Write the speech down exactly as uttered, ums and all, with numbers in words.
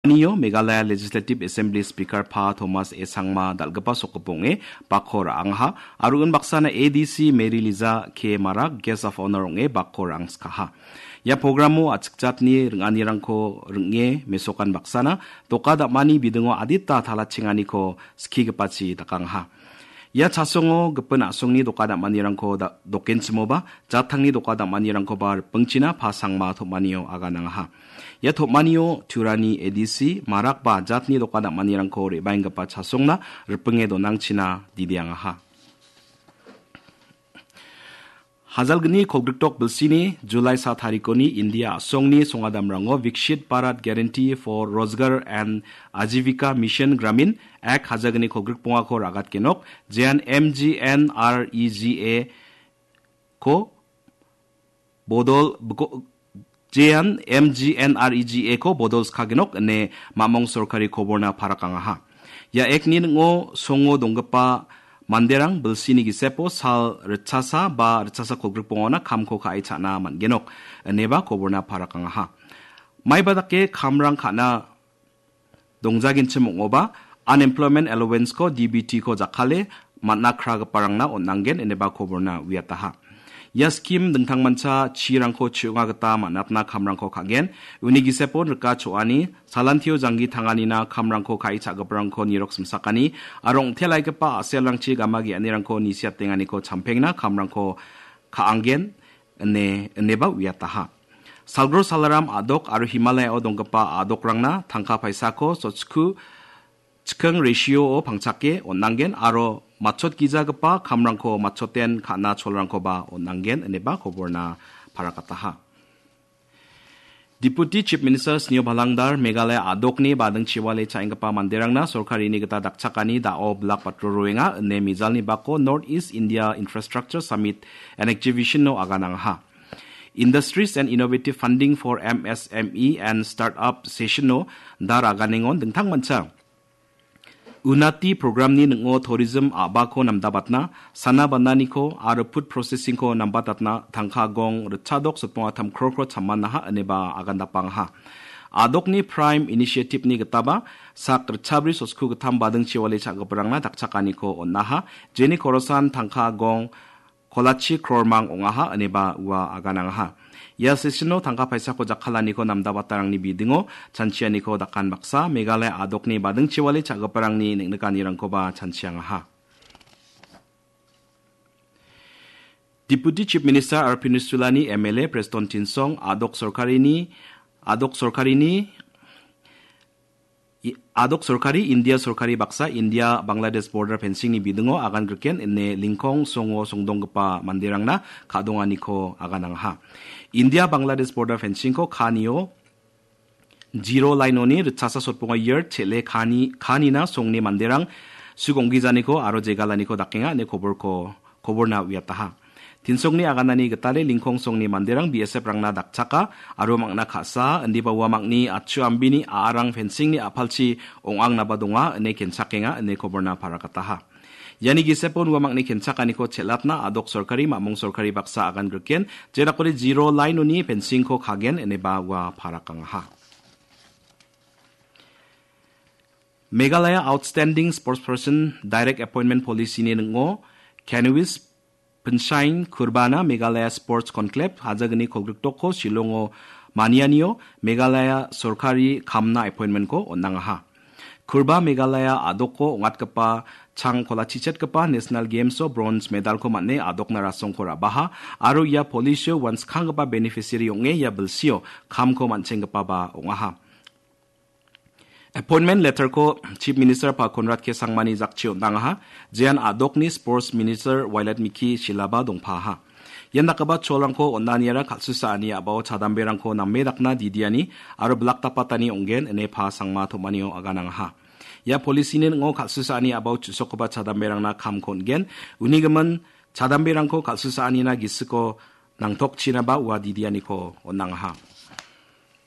Nio Meghalaya Legislative Assembly Speaker Pa Thomas A Sangma dal·gipa sokgipa ong·e bakko ra·angaha, aro unbaksana A D C Mary Liza K Marak Guest of Honor ong·e bakko ra·angskaha. Ia programo a·chik jatni ring·anirangko ring·e mesokan baksana doka dam·ani bidingo adita talachenganiko skigipachi dakangaha. Ia chasongo gipin a·songni doka dam·anirangko da-, dokenchimoba, jattangni doka dam·anirangkoba ripingchina Pa Sangma tom·anio aganangaha. Ia tom·anio Turani A D C, Marakba jatni doka dam·anirangko re·baenggipa chasongna ripinge donangchina didiangaha. Hajalgni kolgrikdok bilsini Julai sa tarikoni India a·songni songadamrango Vikshit Bharat Guarantee for Rozgar and Ajivika Mission Gramin Act hajalgni kolgrikbongako ragatgenok jean M G N R E G A ko bodol bko-, jean M G N R E G A ko bodol skagenok ine mamong sorkari koborna parakangaha. Ia Act-ni ning·o songo donggipa manderang bilsini gisepo sal ritchasa ba ritchasa kolgrikbongona kamko ka·e cha·na man·genok ineba koborna parakangaha. Maiba dake kamrang ka·na dongjagenchim ong·oba, unemployment allowance-ko, D B T-ko jakkale man·a kragiparangna on·angen ineba koborna uiataha. Ia skim dingtangmancha chirangko chi·onga gita man·atna kamrangko ka·gen. Uni gisepon rika cho·ani, salantio janggi tanganina kamrangko ka·e cha·giparangko nirok simsakani, aro ong·telaigipa a·selrangchi gama ge·anirangko nisiatenganiko champengna kamrangko ka·angen ine, ineba uiataha. Salgro salaram a·dok aro Himalayao donggipa a·dokrangna tangka paisako sochku chiking ratio-o pangchake on·angen aro matchotgijagipa kamrangko matchoten ka·na cholrangkoba on·angen ineba koborna parakataha. Deputy Chief Minister Sneo Bhalangdar Meghalaya a·dokni bading chiwale cha·enggipa manderangna sorkarini gita dakchakani da·o bilak batro roenga ine mijalni bako North East India Infrastructure Summit and Exhibition-o aganangaha. Industries and Innovative Funding for M S M E and Startup Session-o dar aganengon dingtangmancha Unati programni ning·o tourism a·bako namdabatna, sana bananiko aro food processing-ko nambatatna tangka gong ritchadok sotbonga tam krokro chamanaha ineba agandapangaha. A·dokni Prime Initiative-ni gitaba sak ritchabri sotku gittam bading chiwale cha·giparangna dakchakaniko on·aha, jeni korosan tangka gong kolachi krormang ong·aha ineba ua aganangaha. Ia session-o tangka paisako jakkalaniko namdabatarangni bidingo chanchianiko dakan baksa Meghalaya a·dokni bading chiwale cha·giparangni neng·nikanirangkoba chanchiangaha. Deputy Chief Minister R Pinish Chulani M L A Preston Tynsong a·dok sorkarini, a·dok sorkarini I-, a·dok sorkari, India sorkari baksa, India Bangladesh border fencing-ni bidingo agan griken ine lingkong songo songdonggipa manderangna ka·donganiko aganangaha. India Bangladesh border fencing-ko kanio zero line-oni ritchasa sotbonga year chele kani, kanina songni manderang sugonggijaniko aro jegalaniko dakenga ine koborko koborna uiataha. Tinsongni aganani gitale lingkong songni manderang B S F-rangna dakchaka aro mangna ka·sa, indiba ua mangni atchu ambini a·arang fencing-ni a·palchi ong·angnaba donga ine kenchakenga ine koborna parakataha. Iani gisepon ua mangni kenchakaniko chelatna a·dok sorkari, mamung sorkari baksa agan griken, jedakode zero line-oni fencing-ko kagen ineba ua parakangaha. Meghalaya Outstanding Sportsperson Direct Appointment Policy-ni ning·o Kanwis Pinshain Kurbana Meghalaya Sports Conclave hajagni kolgrikdokko Shillongo manianio Meghalaya sorkari kamna appointment-ko on·angaha. Kurba Meghalaya a·dokko ong·atgipa chang kolachichetgipa National Games-o bronze medal-ko man·e a·dokna rasongko ra·baha aro ia policy-o uanskanggipa beneficiary ong·e ia bilsio kamko man·chenggipaba ong·aha. Appointment letter-ko Chief Minister Pa Conrad K Sangmani jakchi on·angaha, jean a·dokni Sports Minister Wailadmiki Shylla-ba dongpaha. Ian dakgipa cholrangko on·aniara kal·susaani a·bao chadamberangko name dakna didiani aro bilak dapatani ong·gen ine Pa Sangma tom·anio aganangaha. Ia policy-ni ning·o kal·susaani a·bao chu·sokgipa chadamberangna kamko on·gen, uni gimin chadamberangko kal·susaanina gisiko nangtokchinaba ua didianiko on·angaha.